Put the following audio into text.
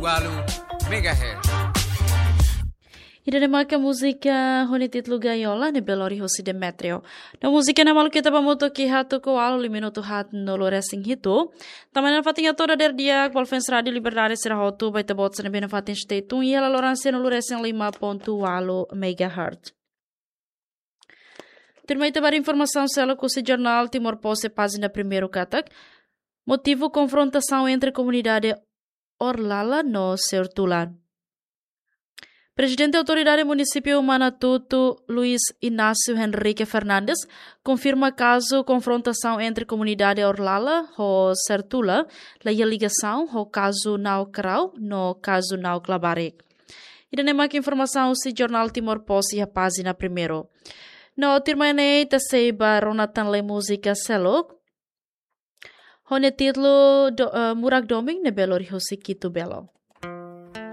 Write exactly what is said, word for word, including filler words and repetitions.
Walu megahertz. Ida-ne'e maka múzika ho nia títulu Gaiola ne'ebé lori hosi Demetrio. No múzika ne'e maluk ita ba hamutuk iha tuku ualu lima minutu haat nulu resin hitu. Tanba ne'e nafatin hato'o dadeer di'ak ba fans Rádio Liberdade sira hotu, ba ita-boot sira ne'ebé nafatin stay tune iha laloran sia nulu resin lima pontu ualu megahertz. Tuirmai ita ba informasaun seluk husi jornál Timor Post iha pájina primeiru katak: motivu konfrontasaun entre komunidade Orlala no Sertula. Prezidente Autoridade Munisípiu Manatuto, Luis Inácio Henrique Fernandes, konfirma kazu konfrontasaun entre komunidade Orlala ho Sertula la iha ligasaun ho kazu Nau Krau no kazu Nau Klabarik. Ida-ne'e maka informasaun husi jornál Timor Post iha pájina primeiru. No tuirmai ne'e ita sei ba rona tan lai múzika seluk ho nia títulu do-, eh, Murak Domin ne'ebé lori hosi Kitu Belo.